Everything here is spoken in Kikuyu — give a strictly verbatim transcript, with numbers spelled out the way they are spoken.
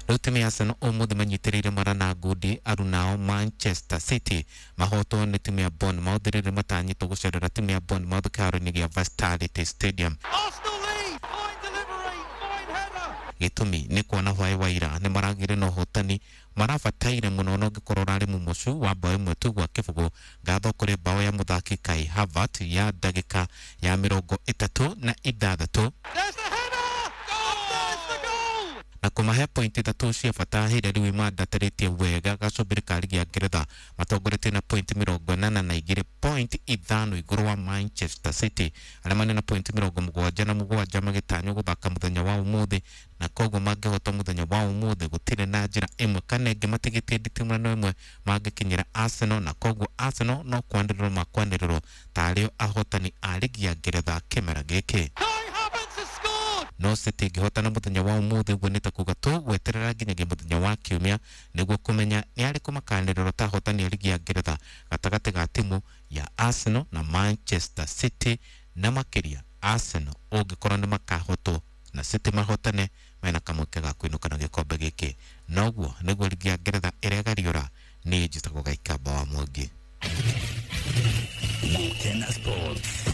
Rĩu timu ya Arsenal ũmũthĩ manyitĩrĩire mara na ngundi arunao Manchester City mahotwo nĩ timu ya Bournemouth rĩrĩa matanyĩtwo gũcerera timu ya Bournemouth kĩharo-inĩ gĩa Vitality Stadium. Arsenal lead. Fine delivery. Fine header. Gĩtũmi nĩ kuona hwaĩ wa ira nĩ maragĩire na ũhotani marabataire mũno na ũngĩkorwo ũrarĩ mũmocu wa bao ĩmwe tu gwa kĩbũgũ. Ngatho kũrĩ bao ya mũthaki Kai Havertz ya ndagĩka ya mĩrongo ĩtatũ na ithathatũ There's the header. And there's the goal. na kũmahe pointi ithatũ cia bata hĩrĩa rĩu imandatarĩtie wega gacũmbĩrĩ ka ligi ya Ngeretha matongoretie na pointi mĩrongo ĩnana na igĩrĩ, pointi ithano igũrũ wa Manchester City arĩa marĩ na pointi mĩrongo mũgwanja na mũgwanja magĩtanywo gũthaka mũthenya wa ũmũthĩ, na koguo mangĩhota mũthenya wa ũmũthĩ gũtirĩ na njĩra ĩmwe kana ĩngĩ matigĩtie nditimũrano ĩmwe mangĩkinyĩra Arsenal, na koguo Arsenal no kwanĩrĩrwo makwanĩrĩrwo tarĩo ahotani a ligi ya Ngeretha kĩmera gĩkĩ. Kai Havertz has scored. No City ĩngĩhotana mũthenya wa ũmũthĩ ũguo nĩ ta kuga tũgweterera nginyagia mũthenya wa kiumia nĩguo kũmenya nĩ arĩkũ makanĩrĩrwo ta ahotani a ligi ya Ngeretha gatagatĩ ga timu ya Arsenal na Manchester City, na makĩria Arsenal ũngĩkorwo nĩ makahotwo na City mahotane mena kamweke ga kũinũka na gĩkombe gĩkĩ. Noguo nĩguo ligi ya Ngeretha ĩregariũra. Niĩ njĩtagwo Gaikamba wa Mwangi. Gukena Sports.